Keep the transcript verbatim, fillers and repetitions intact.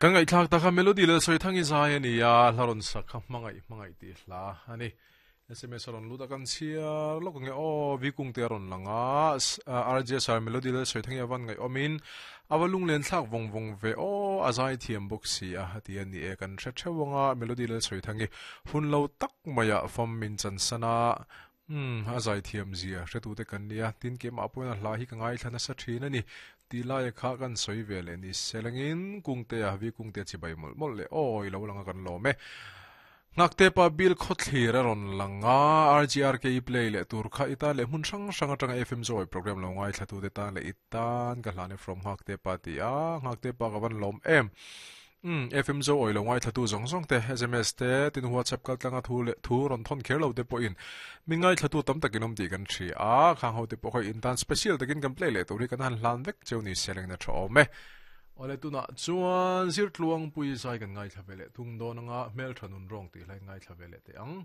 Kan ngai thlak taka melody le soi thangi zai ani a hlaron sakha mangai mangai ti hla ani S M S ron luta kan chia lok nge o vi kung te ron langa R J sar melody le soi thangi awan ngai omin awalung len thlak vong vong ve o azai thiam box si a hati ani e kan thre thewanga melody le soi thangi hun lo tak maya fam min chan sana um azai thiam zia hretu te kan nia tin ke ma pona hla hi ka ngai thlana sa thin ani tilai kha kan soi vele ni selangin kungte a vi kungte chi bai mol mol le oi lo langa kan lo me ngakte pa bil khothlir ron langa R G R K play le tur kha ita le mun sang sang atanga F M joy program lo ngai thlatu te ta le itan ka hlane from ngakte pa ti a ngakte pa ka van lom em um F M zo oi lo ngai thlatu zong zong te S M S te tin WhatsApp kal tlanga thu le thu ron thon kher lo te po in min ngai thlatu tam takinom ti kan thi a khang ho te po khoi intan special takin kan play le turi kan han hlan vek cheu ni seleng na tho me ole tuna chuan zir tluang pui zai kan ngai thlavele tung donanga mel thanun rong ti lai ngai thlavele te ang.